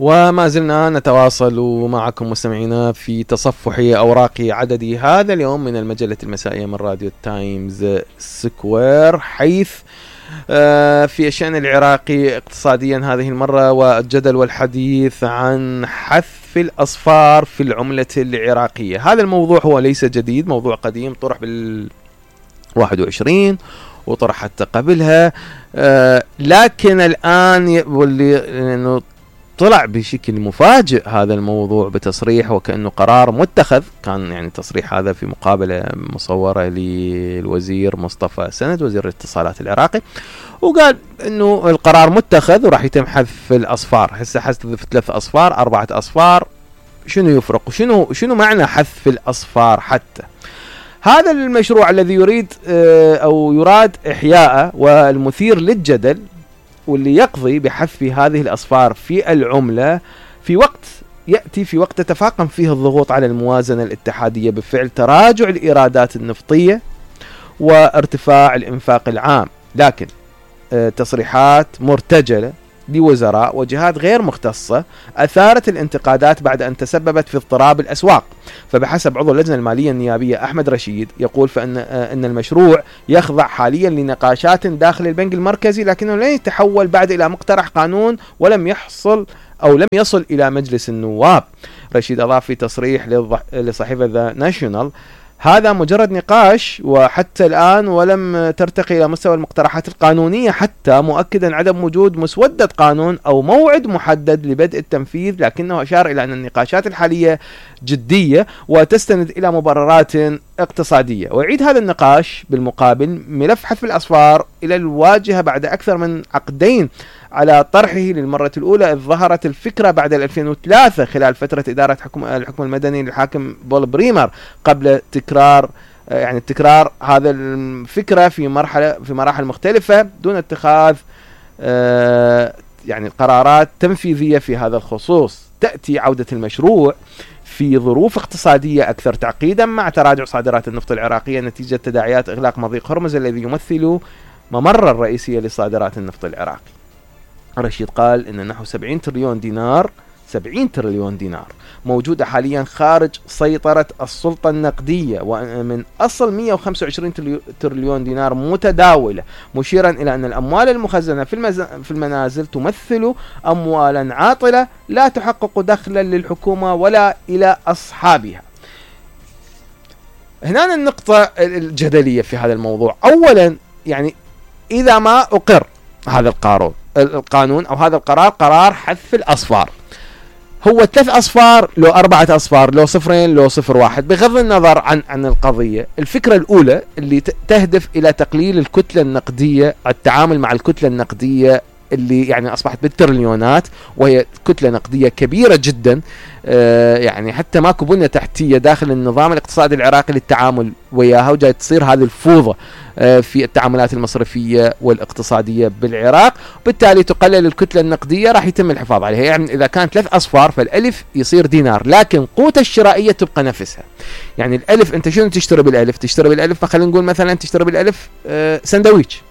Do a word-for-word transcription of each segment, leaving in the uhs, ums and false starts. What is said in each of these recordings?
وما زلنا نتواصل معكم مستمعينا في تصفح أوراق عددي هذا اليوم من المجلة المسائية من راديو تايمز سكوير، حيث في الشأن العراقي اقتصاديا هذه المرة، والجدل والحديث عن حذف الأصفار في العملة العراقية. هذا الموضوع هو ليس جديد، موضوع قديم طرح بال واحد وعشرين وطرح حتى قبلها، لكن الآن واللي إنه طلع بشكل مفاجئ هذا الموضوع بتصريح وكأنه قرار متخذ. كان يعني تصريح هذا في مقابلة مصورة للوزير مصطفى سند وزير الاتصالات العراقي، وقال انه القرار متخذ وراح يتم حذف الاصفار. هسه حذف ثلاث اصفار اربعة اصفار، شنو يفرق وشنو شنو معنى حذف الاصفار؟ حتى هذا المشروع الذي يريد او يراد احياءه والمثير للجدل واللي يقضي بحذف هذه الأصفار في العملة في وقت يأتي في وقت تتفاقم فيه الضغوط على الموازنة الاتحادية بفعل تراجع الإيرادات النفطية وارتفاع الإنفاق العام. لكن تصريحات مرتجلة لوزراء وجهات غير مختصة أثارت الانتقادات بعد أن تسببت في اضطراب الأسواق. فبحسب عضو اللجنة المالية النيابية أحمد رشيد، يقول فإن أن المشروع يخضع حاليا لنقاشات داخل البنك المركزي، لكنه لن يتحول بعد إلى مقترح قانون ولم يحصل أو لم يصل إلى مجلس النواب. رشيد أضاف في تصريح لصحيفة ذا ناشونال: هذا مجرد نقاش وحتى الآن ولم ترتقي إلى مستوى المقترحات القانونية، حتى مؤكدا عدم وجود مسودة قانون أو موعد محدد لبدء التنفيذ. لكنه أشار إلى أن النقاشات الحالية جدية وتستند إلى مبررات اقتصادية. ويعيد هذا النقاش بالمقابل ملف حذف الأصفار إلى الواجهة بعد أكثر من عقدين على طرحه للمرة الأولى، إذ ظهرت الفكرة بعد ألفين وثلاثة خلال فترة إدارة حكم الحكم المدني للحاكم بول بريمر، قبل تكرار يعني تكرار هذا الفكرة في مرحلة في مراحل مختلفة دون اتخاذ يعني قرارات تنفيذية في هذا الخصوص. تأتي عودة المشروع في ظروف اقتصادية أكثر تعقيدا مع تراجع صادرات النفط العراقية نتيجة تداعيات إغلاق مضيق هرمز الذي يمثل ممر الرئيسية لصادرات النفط العراقي. رشيد قال إن نحو سبعين تريليون دينار سبعين تريليون دينار موجودة حاليا خارج سيطرة السلطة النقدية، ومن أصل مئة وخمسة وعشرين تريليون دينار متداولة، مشيرا إلى أن الأموال المخزنة في, المز... في المنازل تمثل أموالا عاطلة لا تحقق دخلا للحكومة ولا إلى أصحابها. هنا النقطة الجدلية في هذا الموضوع. أولا يعني إذا ما أقر هذا القانون القانون أو هذا القرار، قرار حذف الأصفار، هو ثلاث أصفار لو أربعة أصفار لو صفرين لو صفر واحد، بغض النظر عن عن القضية. الفكرة الأولى اللي تهدف إلى تقليل الكتلة النقدية، التعامل مع الكتلة النقدية اللي يعني أصبحت بالتريليونات، وهي كتلة نقدية كبيرة جدا، آه يعني حتى ماكو بنية تحتية داخل النظام الاقتصادي العراقي للتعامل وياها، وجاي تصير هذه الفوضى آه في التعاملات المصرفية والاقتصادية بالعراق، وبالتالي تقلل الكتلة النقدية، راح يتم الحفاظ عليها. يعني إذا كانت ثلاث أصفار فالألف يصير دينار، لكن قوته الشرائية تبقى نفسها. يعني الألف أنت شنو تشتري بالألف؟ تشتري بالألف فخلينا نقول مثلا تشتري بالألف آه سندويتش،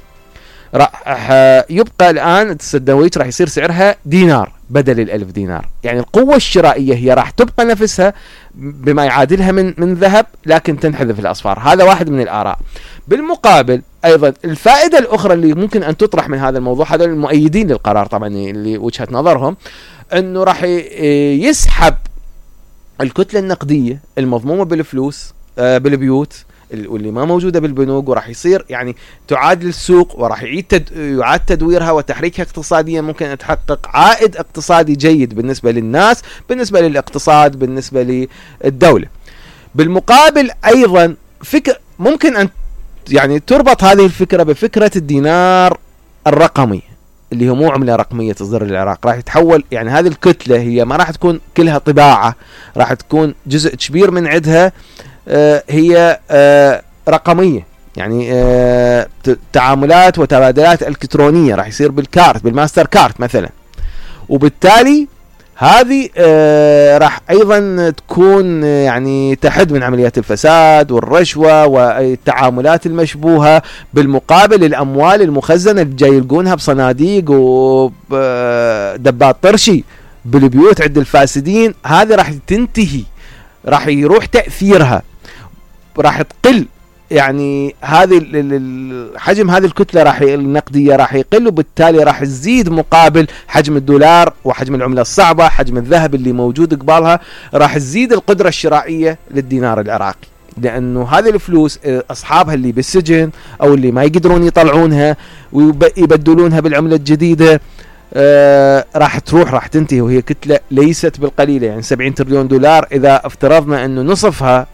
راح يبقى الآن السندويتش راح يصير سعرها دينار بدل الألف دينار. يعني القوة الشرائية هي راح تبقى نفسها بما يعادلها من من ذهب، لكن تنحذف الأصفار. هذا واحد من الآراء. بالمقابل أيضا الفائدة الأخرى اللي ممكن أن تطرح من هذا الموضوع، هذا المؤيدين للقرار طبعا اللي وجهة نظرهم أنه راح يسحب الكتلة النقدية المضمومة بالفلوس بالبيوت واللي ما موجودة بالبنوك، وراح يصير يعني تعادل السوق، وراح يعيد تد... يعاد تدويرها وتحريكها اقتصاديا، ممكن أن تحقق عائد اقتصادي جيد بالنسبة للناس، بالنسبة للاقتصاد، بالنسبة للدولة. بالمقابل أيضا فكر ممكن أن يعني تربط هذه الفكرة بفكرة الدينار الرقمي اللي هو مو عملة رقمية تصدر للعراق، راح يتحول يعني هذه الكتلة هي ما راح تكون كلها طباعة، راح تكون جزء كبير من عدها آه هي آه رقمية، يعني آه تعاملات وتبادلات الكترونية راح يصير بالكارت بالماستر كارت مثلا، وبالتالي هذه آه راح ايضا تكون آه يعني تحد من عمليات الفساد والرشوة والتعاملات المشبوهة. بالمقابل الاموال المخزنة اللي جاي يلقونها بصناديق ودبات طرشي بالبيوت عند الفاسدين، هذه راح تنتهي، راح يروح تأثيرها، راح تقل يعني هذه حجم هذه الكتلة راح النقدية راح يقل، وبالتالي راح تزيد مقابل حجم الدولار وحجم العملة الصعبة، حجم الذهب اللي موجود قبالها، راح تزيد القدرة الشرائية للدينار العراقي، لأنه هذه الفلوس أصحابها اللي بالسجن أو اللي ما يقدرون يطلعونها ويبدلونها بالعملة الجديدة آه راح تروح، راح تنتهي، وهي كتلة ليست بالقليلة. يعني سبعين تريليون دولار إذا افترضنا أنه نصفها،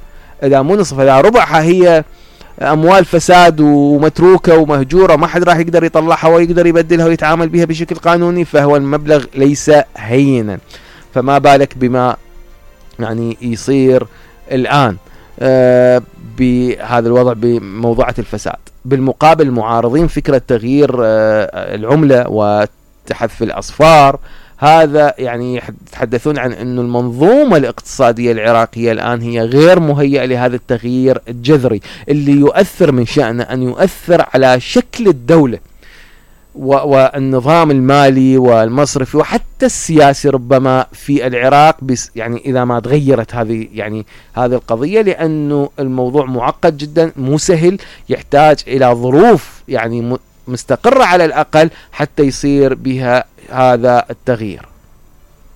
إذا مو نصفها، إذا ربعها هي أموال فساد ومتروكة ومهجورة ما حد راح يقدر يطلعها ويقدر يبدلها ويتعامل بها بشكل قانوني، فهو المبلغ ليس هينا. فما بالك بما يعني يصير الآن آه بهذا الوضع بموضوعة الفساد. بالمقابل معارضين فكرة تغيير آه العملة وتحذف الأصفار، هذا يعني يتحدثون عن أن المنظومة الاقتصادية العراقية الآن هي غير مهيئة لهذا التغيير الجذري اللي يؤثر، من شأنه أن يؤثر على شكل الدولة والنظام المالي والمصرفي وحتى السياسي ربما في العراق، بس يعني إذا ما تغيرت هذه يعني هذه القضية، لأنه الموضوع معقد جدا، مو سهل، يحتاج إلى ظروف يعني مستقرة على الأقل حتى يصير بها هذا التغيير.